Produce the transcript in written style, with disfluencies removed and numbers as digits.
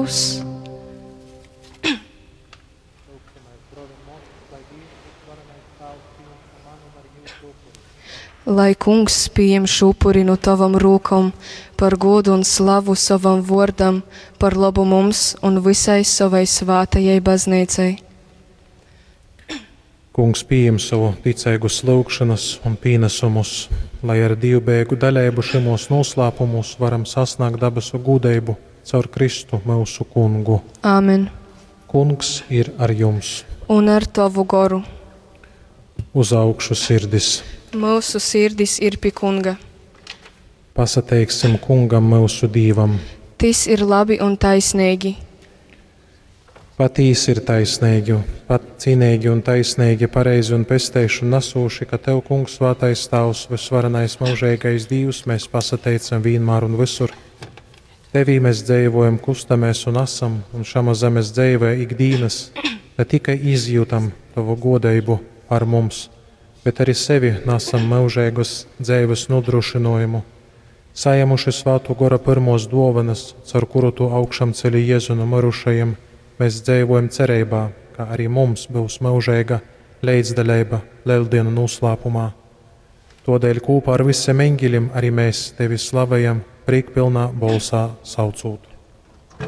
Tāvs. Lai Kungs pieņem šo upuri no tavam rūkom par godu un slavu savam vārdam, par labu mums un visai savai svātajai baznīcai. Kungs pieņem savu ticeigus lūgšanas un pienesumus, lai ar dievbijīgu daļību šimos noslēpumos varam sasniegt dabasu gudrību caur Kristu mūsu kungu. Āmen. Kungs ir ar jums, Un ar tavu goru. uz augšu sirdis. Mūsu sirdis ir pie Kunga. Pasateiksim kungam mūsu dīvam. Tis ir labi un taisnīgi. Patīsi ir taisnīgi, pat cīnīgi un taisnīgi, pareizi un pesteiši un nesūši, ka Tev, Kungs, svētais Tēvs, visvarenais mūžīgais Dievs, mēs pasateicam vienmēr un visur. Tevī mēs dzīvojam, kustamies un esam, un šamā zemes dzīvē ikdienas ne tikai izjūtam Tavu godību par mums, bet arī sevi nesam mūžīgas dzīves nodrošinājumu. Saņēmuši Svēto Gora pirmos dovanas, caur kuru Tu augšām celi Jēzu no mirušajiem, mēs dzīvojam cerībā, ka arī mums būs mūžīga līdzdalība Lieldienu noslēpumā. Todēļ kopā ar visiem eņģeļiem arī mēs Tevi slavējam, priekpilnā bolsā saucot.